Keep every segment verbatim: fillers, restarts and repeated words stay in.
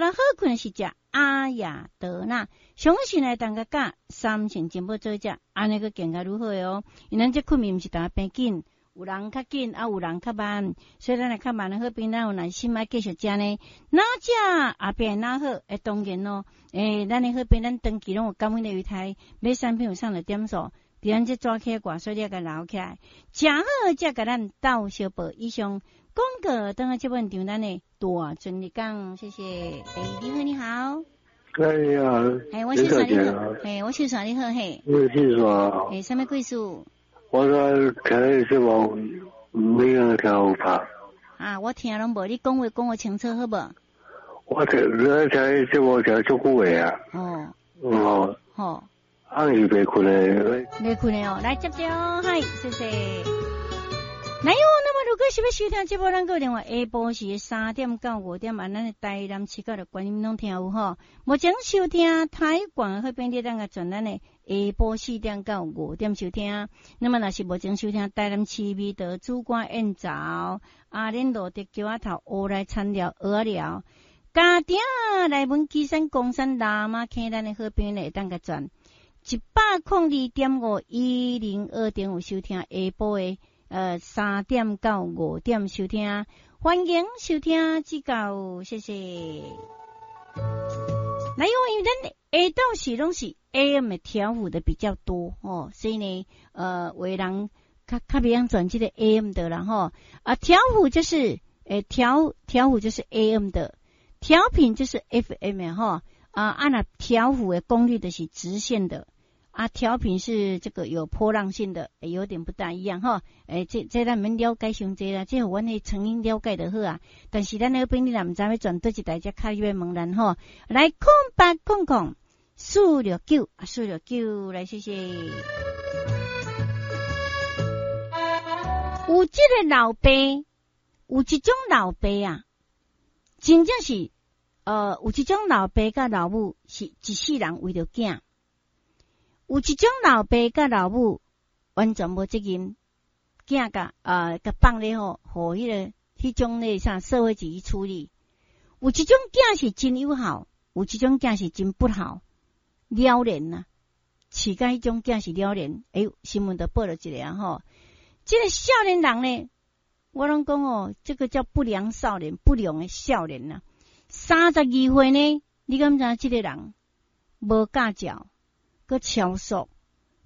較好睏是食阿亞德納，相信來當個佮三星情報做食，按呢閣更加愈好哦。因為咱這睏眠毋是淡變緊，有人較緊，啊有人較慢，所以咱來較慢的好比咱有耐心愛繼續食呢。哪食後壁哪好，會當然咯。欸，咱的好比咱長期攏有感恩的猶太，買產品有送的點數，佇咱這紙起掛，所以你愛共留起來。食好才共咱鬥相報。以上廣告，等下這本場咱的大尊日講，謝謝。欸，你好，你好。哎呀，欸，我姓啥你好，欸，我姓啥你好嘿。我姓啥？欸，啥物貴事？我說聽節目沒有聽有拍。啊，我聽攏無，你講話講予清楚好無？我聽，我聽節目聽足久的啊。哦。哦。好。暗時袂睏的。袂睏的哦，來接著，嗨，謝謝。來喲，那麼如果是欲收聽這部，咱閣另外下晡時三點到五點，按咱的台南市到的觀音攏聽有吼。目前收聽台廣的好朋友，咱個轉咱的下晡四點到五點收聽。那麼若是目前收聽台南市味道主管宴灶，阿恁羅德橋仔頭烏來田寮蚵仔寮，家庭來阮基山岡山喇嘛坑咱的好朋友會當共轉一百空二點五一零二點五收聽下晡的。呃，三點到五點收聽，歡迎收聽指教，謝謝。來，因為咱下晝時攏是 A M 的調幅的比較多哦，所以呢，呃，有的人較較袂曉轉這個 A M 的啦吼。啊，調幅就是誒調調幅就是 A M 的，調頻就是 F M 吼。啊，啊若調幅的功率的是直線的。啊，調頻是這個有波浪性的，欸，有點不大一樣哈。欸，這這咱免了解傷濟啦，這予阮的聲音了解就好啊。但是咱那個朋友若毋知欲轉佗一台，才較欲問咱吼。來，空八空空四六九啊，四六九，來謝謝。有這個老爸，有一種老爸啊，真正是呃，有一種老爸佮老母是一世人為著囝。有一種老爸佮老母完全無責任，囝共呃共放咧吼，予彼個彼種咧啥社會主義處理。有一種囝是真有孝，有一種囝是真不孝，了然啊，飼甲彼種囝是了然。欸，新聞都報了一個啊吼，這個少年人呢，我攏講哦，這個叫不良少年，不良的少年啊。三十二歲呢，你敢知這個人無駕照？閣超速，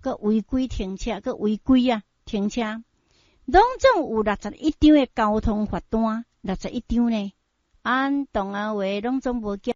閣違規停車，閣違規啊停車，攏總有六十一張的交通罰單，六十一張呢。按同學話攏總無繳。